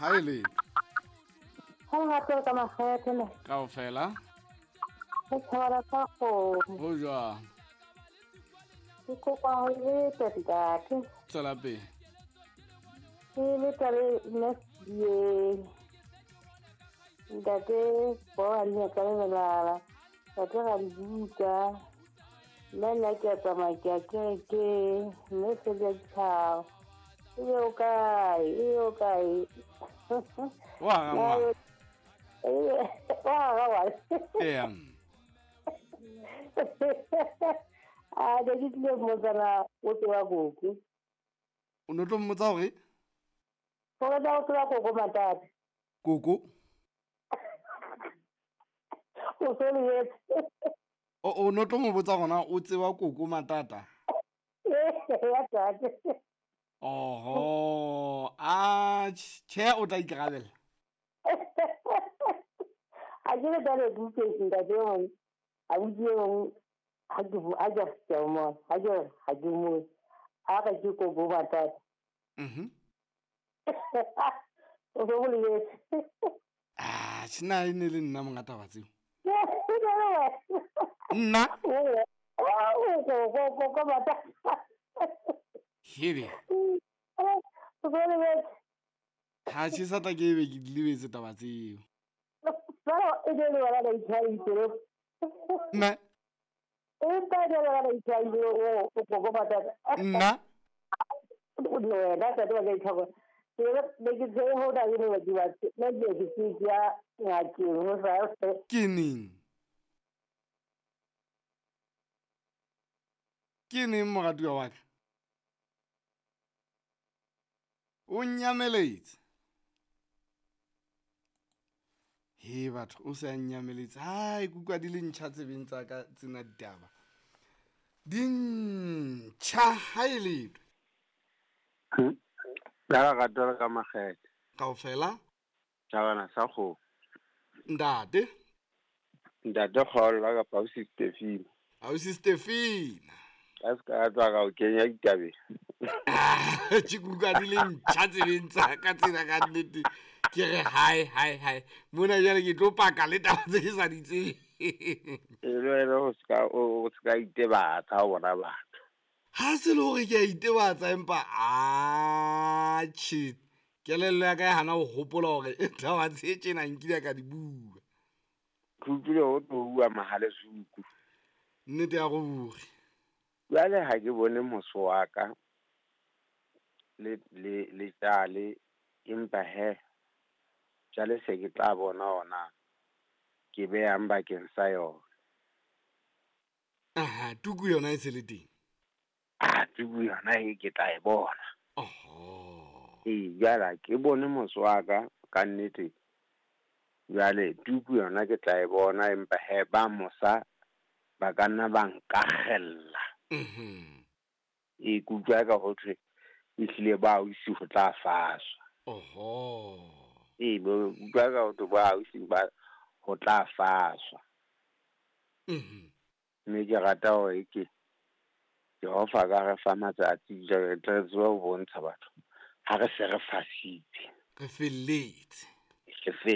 Ha e le. Ha gape ka makgethe ne. Kaofela. Re thabela sa kgomo. Ho jwang? Ke kopa ho leta ntate. Tswela pele. Ke leta le nne ye. Ntate bo a nne ka lebelala. Ntate ga di buka. Nna nna ke a tsamaya ke a kerekeng. Mme se di a ditshaba. E be o kae? E be o kae? Wa ga ngwana. Wa ga ngwana. Eya. A ne ke tlile mmotsana o tseba koko. O no tlo mmotsa hore? Gore na o tseba koko Matata. Koko? O so lebetse. O no tlo mo botsa gona o tseba koko Matata? Ya tate. Oho, a tjhe o tla ikarabella. A ke le tale ke ntate e mong, abuti e mong ha ke ha ke ke mo, ha ke ha ke mo. A ka ke koko Matata. O so mo lebetse. Ah, tjhe e ne le nna monga taba tseo. Nna? O koko Matata. Hebe. O so lebetse. Ha tjhe sa tla ke be ke di lebetse taba tseo. Jwale e ne le wena ka itshwaritse. Nna? Empa e ne le wena ka itshwaritse o koko Matata. Nna? O ne wena tate wa ka itshwara. Ke ne ke tsebe ho na le ne ke ba nna ke ke ke ya ngakeng ho sa. Ke neng? Ke neng moratuwa wa ka? O nyameletse. He batho o se a nyameletse. Hai kutlwa di le ntjha tsebeng tsa ka tsena ditaba. Di ntjha ha e letho. La rato le ka makgethe. Kaofela? Tjhabana sa kgomo. Ntate? Ntate Kgolo kapa ausi Stefina. Ausi Stefina. Ka se ka tswa ka o kenya ditabeng. Ke kutlwa di le ntjha tsebeng tsa ka tsena ka nnete. Ke re hai hai hai. Mona jwale ke tlo paka le taba tse ke sa di tsebeng. E le wena o ska itebatsa ho bona batho. Ha se le hore ke a itebatsa empa a tjhe. Kelello ya ka e hana ho hopola hore taba tse tjena nkile ka di bua. Ke utlwile ho tlo bua Mahalesuku. Nnete ya ruri. Jwale ha ke bone moso wa ka le le le tjale empa he jwale se ke tla bona ona ke beyang bakeng sa yona. Aha, tuku yona e se le teng. Ah, tuku yona e ke tla e bona. Oho. Ee, jwale ke bone moso wa ka ka nnete. Jwale tuku yona ke tla e bona empa he ba mosa ba ka nna ba nkakgella. E kutlwa ka ho thwe ehlile ba ausi ho tla faswa. Oho. Ee, bo utlwa ka ho thwe ba ausi ba ho tla faswa. Mme ke rata hore ke Jehova ka re fa matsatsi jwale re tle re tsebe ho bontsha batho ha re se re fasitse. Re felletse. Re felletse.